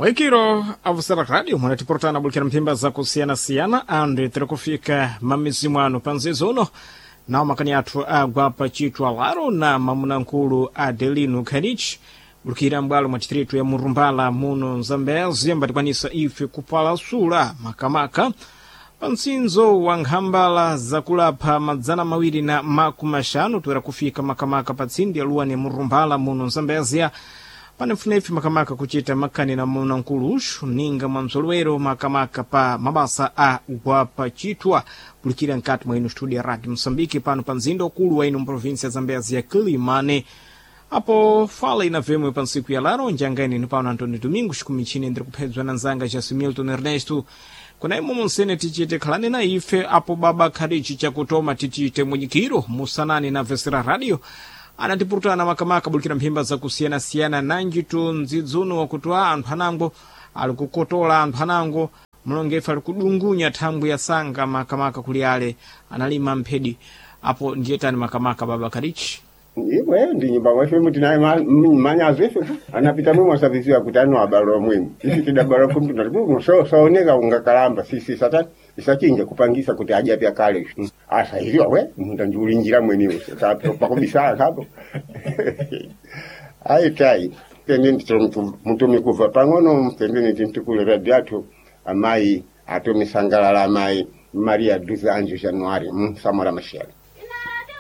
Waikiro avusera radio mwanatiporotana bulikira mphimba za kusiyana-siyana andu tiri kufika mamizimu ano panzizo uno nawo makani athu agwa pa chitwa laro na mamunankulu Adelino Khanich bulikira mbwalo mwa distritu ya Murumbala muno Mzambezi, ambatikwanisa ife kupalasula makamaka pa mtsinzo wa nkhambala zakulapha 250 toera kufika makamaka pa tsindi ya luwani Murumbala muno Mzambezia. Panefunefi makamaka kuchita makani na munankulu uxu ninga mwa mzolowero makamaka pa mabasa a gwapa chitwa pulikira nkati mwa ino studio ya Radio Moçambique pano pa mzinda ukulu wa ino mprovinsia ya Zambezi ya Kilimane. Apo fala ina vemwe pa ntsiku ya laro njangaine ni pano Antônio Domingos kumichini ndiri kuphedzwa na nzanga ja Milton Ernesto kuna imo monsene tichite khalani na ife apo baba kharichi chakutoma tichite munyikiro musanani na vesera radio anatipurutana makamaka bulikira mphimba zakusiyana-siyana nanjitu ndzidzuno wakuti a anthu anango ali kukotola anthu anango mlongefe ali kudungunya thangwi ya sanga makamaka kuli ale analima mphedi apo ndiyetani makamaka baba kharichi. Imwe ndi nyumba mwefe mutinaye manyazo ife anapita mwe mwasabisiwa kuti ano abalo mwemu isi tidabalo kumtu so saoneka ungakalamba sisi satani isachinja kupangisa kuti aje pya kale asa iliwa we munda njulinjira mweniwo pakubisala kapo ai tai pembeni mutumi kuva pang'ono pembeni tintukule radio athu amayi atumisangalala amayi Maria 12 Anjo Januari Samora Machel.